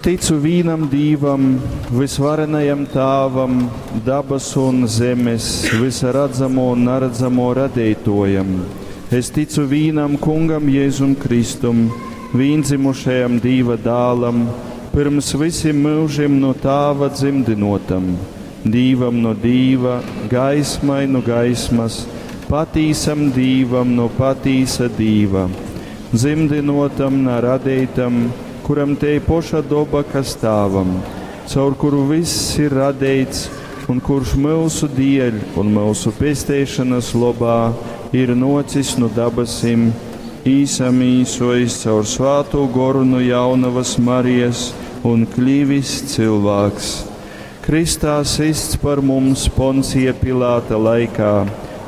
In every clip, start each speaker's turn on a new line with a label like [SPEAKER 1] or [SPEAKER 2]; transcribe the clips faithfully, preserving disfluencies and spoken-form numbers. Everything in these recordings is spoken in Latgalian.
[SPEAKER 1] Ticu vīnam Dīvam, vysvarenajam Tāvam, dabasu un zemes, vysa radzamo un naredzamo radeitōjam. Es ticu vīnam Kungam Jēzum Kristum, vīndzimušajam Dīva dālam, pyrms vysim myužim nu Tāva dzymdynotam, Dīvam nu Dīva, gaismai nu gaismas, patīsam Dīvam nu patīsa Dīva, dzymdynotam, na radeitam, kuram tei poša doba, kas Tāvam, caur kuru vyss ir radeits un kurš myusu dieļ un myusu pesteišanas lobā ir nocis nu dabasim, īsamīsojis caur svātū goru nu jaunavas Marijas un kļivis cilvēks. Kristā sists par mums Poncija Pilāta laikā,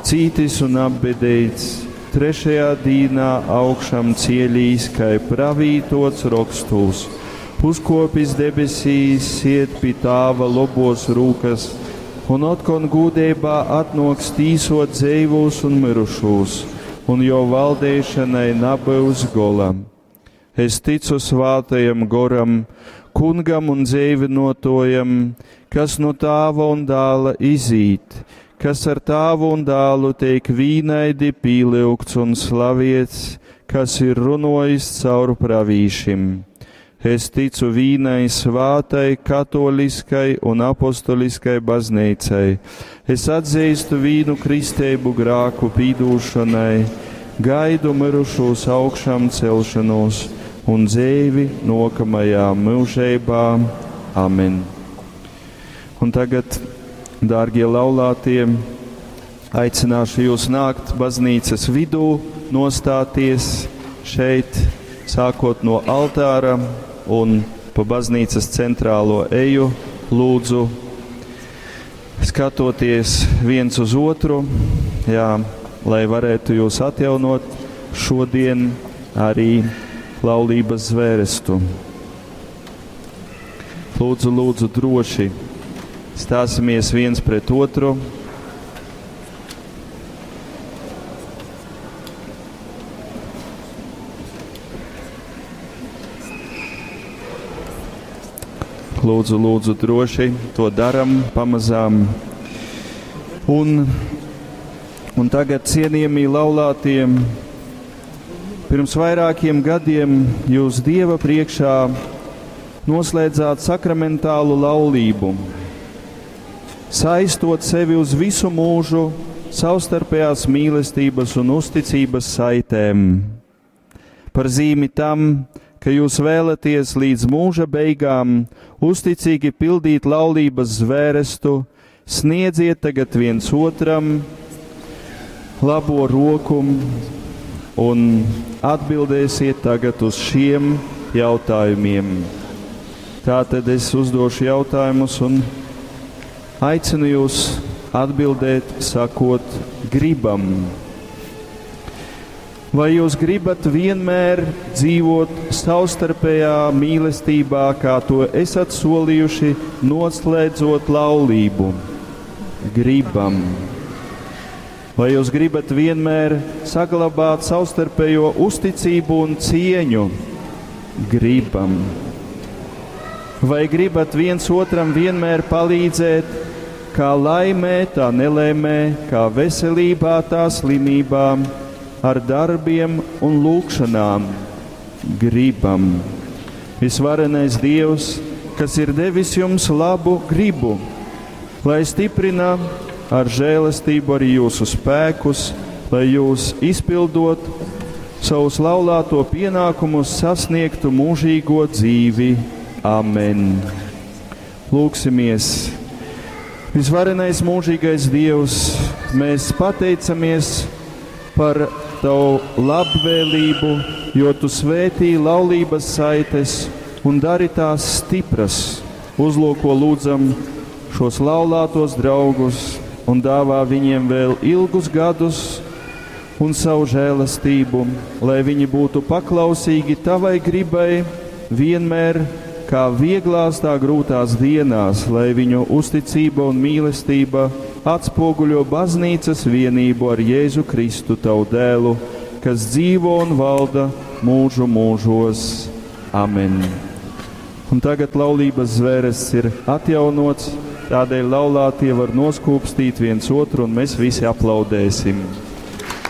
[SPEAKER 1] cītis un apbedeits, trešajā dīnā augšām cielīs, kai pravītots rokstūs, uzkopis debesīs, sied pi Tāva lobos rūkas, un otkon gūdeibā atnoks tīsot dzeivūs un mirušūs, un jo valdeišanai nabyus gola. Es ticu svātajam goram, kungam un dzeivinotājam, kas no Tāva un dāla izīt, kas ar Tāvu un dālu teik vīnaidi pīlyugts un slaviets, kas ir runojis caur pravīšim. Es ticu vīnai svātai, katoliskai un apostoliskai baznīcai. Es atzīstu vīnu kristeibu grāku pīdūšanai, gaidu mirušūs augšām celšanos un dzīvi nokamajā mūžībā. Amen. Un tagad, dārgie laulātie, aicināšu jūs nākt baznīcas vidū, nostāties šeit, sākot no altāra un pa baznīcas centrālo eju, lūdzu, skatoties viens uz otru, jā, lai varētu jūs atjaunot šodien arī laulības zvērestu. Lūdzu, lūdzu, droši stāsimies viens pret otru. Lūdzu, lūdzu, droši to daram pamazām. Un, un tagad, cienījamie laulātie, pirms vairākiem gadiem jūs Dieva priekšā noslēdzāt sakramentālu laulību, saistot sevi uz visu mūžu savstarpējās mīlestības un uzticības saitēm. Par zīmi tam, ka jūs vēlaties līdz mūža beigām uzticīgi pildīt laulības zvērestu, sniedziet tagad viens otram labo roku un atbildēsiet tagad uz šiem jautājumiem. Tātad es uzdošu jautājumus un aicinu jūs atbildēt, sakot, gribam. Vai jūs gribat vienmēr dzīvot savstarpējā mīlestībā, kā to esat solījuši, noslēdzot laulību? Gribam. Vai jūs gribat vienmēr saglabāt savstarpējo uzticību un cieņu? Gribam. Vai gribat viens otram vienmēr palīdzēt, kā laimē, tā nelaimē, kā veselībā, tā slimībā, ar darbiem un lūgšanām? Gribam. Visvarenais Dievs, kas ir devis jums labu gribu, lai stiprina ar žēlastību arī jūsu spēkus, lai jūs izpildot savus laulāto pienākumus sasniegtu mūžīgo dzīvi. Amen. Lūksimies. Visvarenais mūžīgais Dievs, mēs pateicamies par Tavu labvēlību, jo Tu svētī laulības saites un dari tās stipras. Uzlūko lūdzam šos laulātos draugus un dāvā viņiem vēl ilgus gadus un savu žēlastību, lai viņi būtu paklausīgi Tavai gribai vienmēr, kā vieglās, tā grūtās dienās, lai viņu uzticība un mīlestība atspoguļo baznīcas vienību ar Jēzu Kristu, Tavu dēlu, kas dzīvo un valda mūžu mūžos. Amen. Un tagad laulības zvērests ir atjaunots, tādēļ laulātie var noskūpstīt viens otru, un mēs visi aplaudēsim.